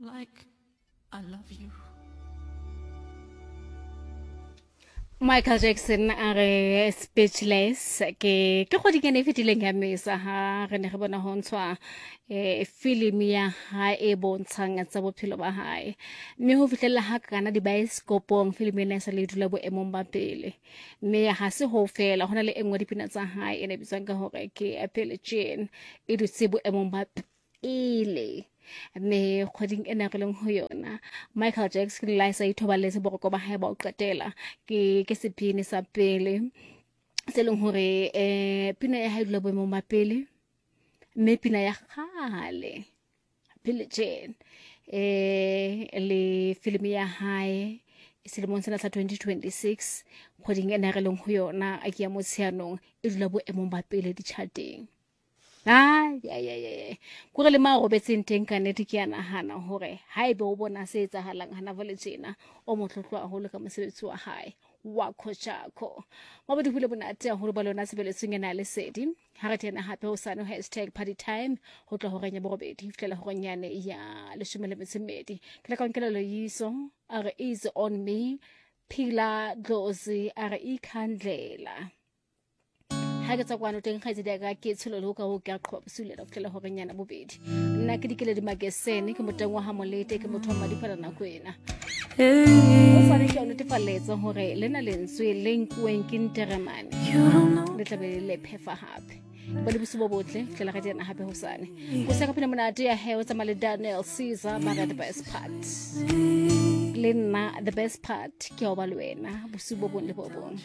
Like I love you. Michael Jackson a re speechless ke ke kgweding e fetileng ya mesa ha re ne re bona ho ntshwa eh filimi ya hae e bontshang tsa bophelo ba hae mme ho fihlella ha kana dibaesekopong filimi ena e sa le dula boemong ba pele mme ha se ho fela ho na le e nngwe dipina tsa hae e ne bitswang ka hore ke Billie Jean e dutse boemong ba pele mme kgweding ena re leng ho yona Michael Jackson la sa ithobaletse boroko ba hae ba o qetela ke ke sephini sa pele se leng hore eh pina ya hae dula boemong ba pele mme pina ya kgale Billie Jean eh le filimi ya hae selemong sena sa 2026 kgweding ena re leng ho yona a ke ya motsheanong e dula boemong ba pele ditšhateng. Ai kore le ma robetseng teng ka nnete ke a nahana hore haebe o bona se etsahalang hana jwale tjena o motlotlo haholo ka mosebetsi wa hae wa khochakho. Mabodi hule monate haholo ba lona tshebeletsong ena ya lesedi. Ha re tena hape hosane hashtag party time ho tloha horeng ya borobedi ho fihlela horeng yane ya leshome le metso e mmedi. Ke la ka nkela loyiso a re easy on me Phila Dlozi a re ikhandlela. Ha ke tswa kwano teng kgaitsedi ya ka ke tsholo le ho ka ho ke a qhoba bosiu le ho fihlela horeng yana bobedi. Nna ke dikele di makesene ke moteng wa ha molete ke motho wa madifala nako ena. O sane ke o netefalletsa hore lena lentswe le nkuweng ke nteremane le tlabe le phefa hape. Ba le bosiu bo botle fihlela re tena hape hosane. O se ka phela monate ya he o tsamaya le Daniel Caesar ba re the best part. Le nna the best part ke ya ho ba le wena bosiu bo bong le bo bong.